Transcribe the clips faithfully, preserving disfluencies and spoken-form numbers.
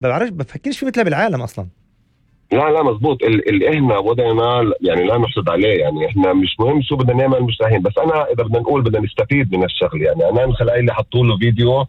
بعرفش بفكرش في مثله بالعالم أصلا. لا لا مزبوط. اللي إحنا وضعنا يعني لا نحسد عليه، يعني إحنا مش مهم شو بدنا نعمل مش رايحين، بس أنا إذا بدنا نقول بدنا نستفيد من الشغل. يعني أنا من خلال اللي حطوا له فيديو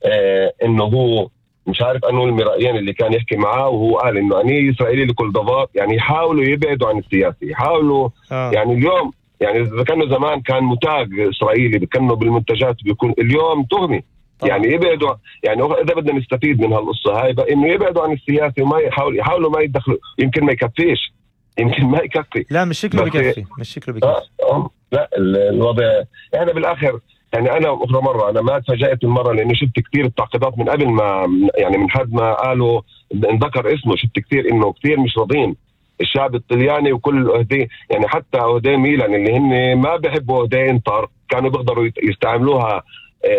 آه إنه هو مش عارف أنه المرأيين اللي كان يحكي معاه، وهو قال إنه أني إسرائيلي لكل ضباط. يعني يحاولوا يبعدوا عن السياسي، يحاولوا آه. يعني اليوم يعني إذا كانوا زمان كان متاج إسرائيلي بكنوا بالمنتجات بيكون اليوم تهمي. طبعا. يعني يبعدوا، يعني إذا بدنا نستفيد من هالقصة هاي بقى إنه يبعدوا عن السياسي وما يحاول يحاولوا ما يدخلوا. يمكن ما يكفيش، يمكن ما يكفي. لا مش شكله بكفي، مش شكله بكفي. آه آه لا الوضع يعني بالآخر يعني أنا أخرى مرة أنا ما تفاجأت المرة لأني شفت كتير التعقيدات من قبل ما يعني من حد ما قالوا انذكر اسمه. شفت كتير إنه كتير مش راضين الشعب الطلياني وكل أهدي، يعني حتى أهدي ميلان اللي هن ما بيحبوا أهدي انتر كانوا بيقدروا يستعملوها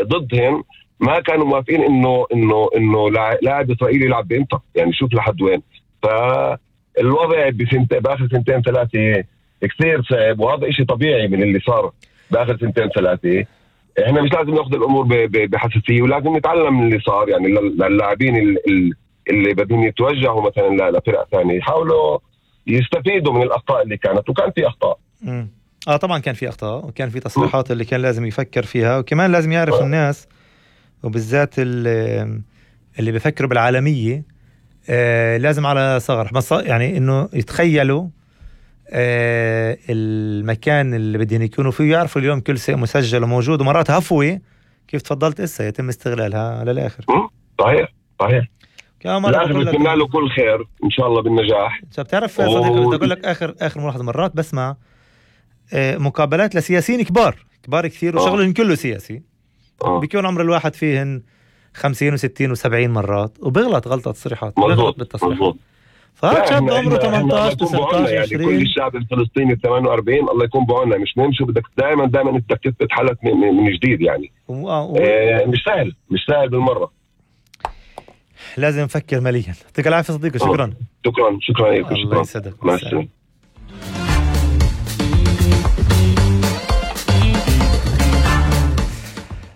ضدهم، ما كانوا موافقين إنه إنه إنه لاعب إسرائيلي يلعب بإنتر. يعني شوف لحد وين. فالوضع بسنت بآخر سنتين ثلاثة كثير صعب، وهذا إشي طبيعي من اللي صار بآخر سنتين ثلاثة. إحنا مش لازم نأخذ الأمور بحساسية، ولازم نتعلم من اللي صار. يعني للاعبين اللي, اللي بدهم يتوجهوا مثلا لفرق ثانية يحاولوا يستفيدوا من الأخطاء اللي كانت، وكان في أخطاء. م. آه طبعا كان في أخطاء، وكان في تصريحات اللي كان لازم يفكر فيها، وكمان لازم يعرف آه. الناس وبالذات اللي, اللي بيفكروا بالعالمية آه لازم على صغر يعني إنه يتخيلوا آه المكان اللي بدهم يكونوا فيه، يعرفوا اليوم كل شيء مسجل وموجود، ومرات هفوة كيف تفضلت إسا يتم استغلالها للآخر. صحيح صحيح. لازم نتمنى له كل خير إن شاء الله بالنجاح. بتعرف صديقي بدي أقول لك آخر آخر ملاحظة، مرات بسمع آه مقابلات لسياسيين كبار كبار كثير وشغلهم كله سياسي آه. بيكون عمر الواحد فيهن خمسين وستين وسبعين مرات وبيغلط غلطة تصريحات، بيغلط بالتصريحات. فهذا شاب عمره ثمانية عشر تسعة عشر يعني كل الشعب الفلسطيني ثمانية وأربعين الله يكون بعنا. مش مهم شو بدك دائما دائما انت تثبت حالك من, من جديد. يعني و... و... آه مش سهل مش سهل بالمرة. لازم نفكر مليا. يعطيك العافية صديقي. شكرا شكرا شكرا لك. الله يسعدك. مع السلامة.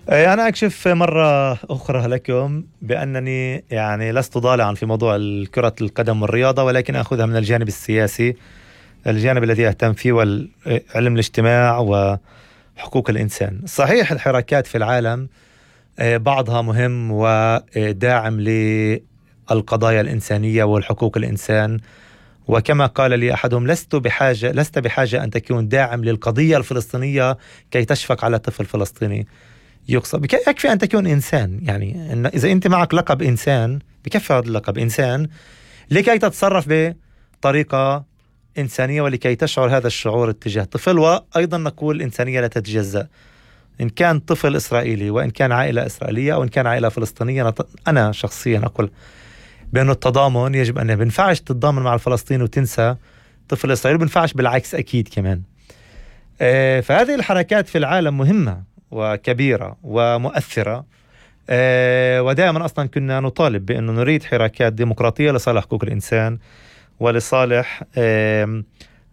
أنا أكشف مرة أخرى لكم بأنني يعني لست ضالعا في موضوع كرة القدم والرياضة، ولكن أخذها من الجانب السياسي، الجانب الذي أهتم فيه والعلم الاجتماع وحقوق الإنسان. صحيح الحركات في العالم بعضها مهم وداعم للقضايا الإنسانية والحقوق الإنسان، وكما قال لي أحدهم لست بحاجة لست بحاجة أن تكون داعم للقضية الفلسطينية كي تشفق على طفل فلسطيني يقصد. يكفي أن تكون إنسان. يعني إن إذا أنت معك لقب إنسان بكفي هذا اللقب إنسان لكي تتصرف بطريقة إنسانية ولكي تشعر هذا الشعور اتجاه طفل. وأيضا نقول الإنسانية لا تتجزأ، إن كان طفل إسرائيلي وإن كان عائلة إسرائيلية أو إن كان عائلة فلسطينية. أنا شخصيا أقول بأنه التضامن يجب أن بنفعش تتضامن مع الفلسطيني وتنسى طفل إسرائيلي، بنفعش بالعكس أكيد كمان. آه فهذه الحركات في العالم مهمة وكبيرة ومؤثرة، أه ودائما أصلا كنا نطالب بأنه نريد حركات ديمقراطية لصالح حقوق الإنسان ولصالح أه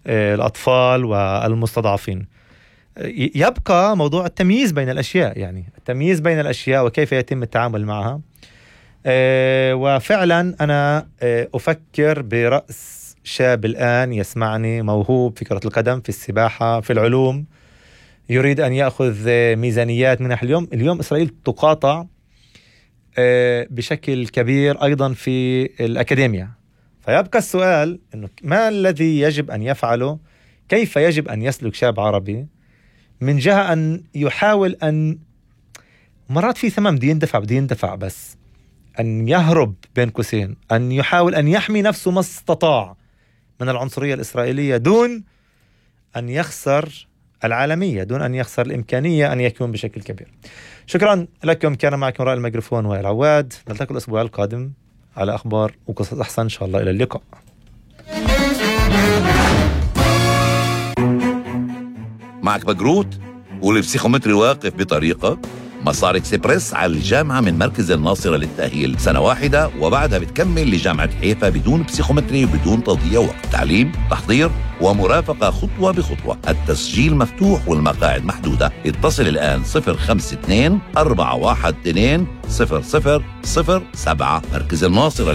أه الأطفال والمستضعفين. يبقى موضوع التمييز بين الأشياء، يعني التمييز بين الأشياء وكيف يتم التعامل معها. أه وفعلا أنا أه أفكر برأس شاب الآن يسمعني موهوب في كرة القدم، في السباحة، في العلوم، يريد أن يأخذ ميزانيات منح. اليوم اليوم إسرائيل تقاطع بشكل كبير أيضا في الأكاديمية. فيبقى السؤال إنه ما الذي يجب أن يفعله، كيف يجب أن يسلك شاب عربي من جهة أن يحاول أن مرات في ثمن بده يندفع بده يندفع بس أن يهرب بين قوسين، أن يحاول أن يحمي نفسه ما استطاع من العنصرية الإسرائيلية دون أن يخسر العالمية، دون أن يخسر الإمكانية أن يكون بشكل كبير. شكرا لكم. كان معكم رائع الميكروفون وائل عواد. نلتقي الأسبوع القادم على أخبار وقصص أحسن إن شاء الله. إلى اللقاء. معك بقروت والبسيخومتري واقف بطريقة مسار إكسبرس على الجامعة من مركز الناصرة للتأهيل سنة واحدة، وبعدها بتكمل لجامعة حيفا بدون بسيخومتري وبدون تضييع وقت. تعليم، تحضير ومرافقة خطوة بخطوة. التسجيل مفتوح والمقاعد محدودة. اتصل الآن صفر خمسة اثنين أربعة واحد اثنين صفر صفر صفر سبعة. مركز الناصرة